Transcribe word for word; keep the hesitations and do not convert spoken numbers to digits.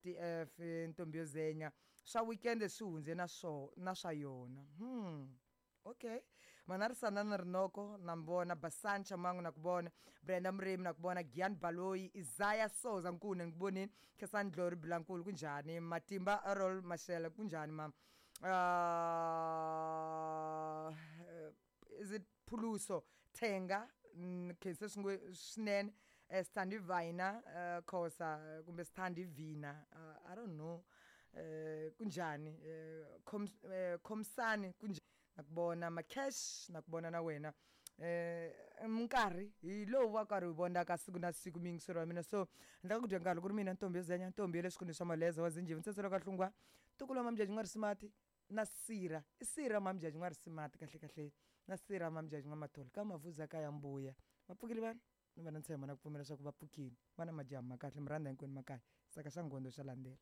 T F Ntombi yo Zenya swa weekend swi hundze na swo na swa yona hmm okay mana ri sanana rinoko na mi vona Basani Chamangu na ku vona Brenda Murimi na ku vona Gian Baloyi Isaiah Souza Nkune ni ku vonini Khensani Dlori Bilankulu kunjhani Matimba Errol Mashele kunjhani mam uh, is it Phuluso Thenga mm, khense swin'we swinene eh, Sthandi Vina uh, Khosa kumbe Sthandi Vina uh, I don't know eh kunjani eh khom eh, khomsani kunjani nakubona Makesh nakubona na wena eh minkarhi hi lowu wa karhi hi vonaka siku na siku miyingiselo wa mina so ndla ku dya nkarhi ku ri mina Ntombi yo Zenya Ntombi ya le swikhundleni swa Maleza wa Zinjiva ntsenselo ka Hlungwa ntukulu wa Mamjaji N'warisimati na Sira i Sira Mamjaji N'warisimati kahle kahle na Sira Mamjaji N'wamathole ka Mavuza ka ya Mbuya va pfukile vanhu ni va na ntshembo na ku pfumela leswaku va pfukile va na majaha ma kahle mi rhandza hinkwenu makaya saka xa ngondo xa landzela.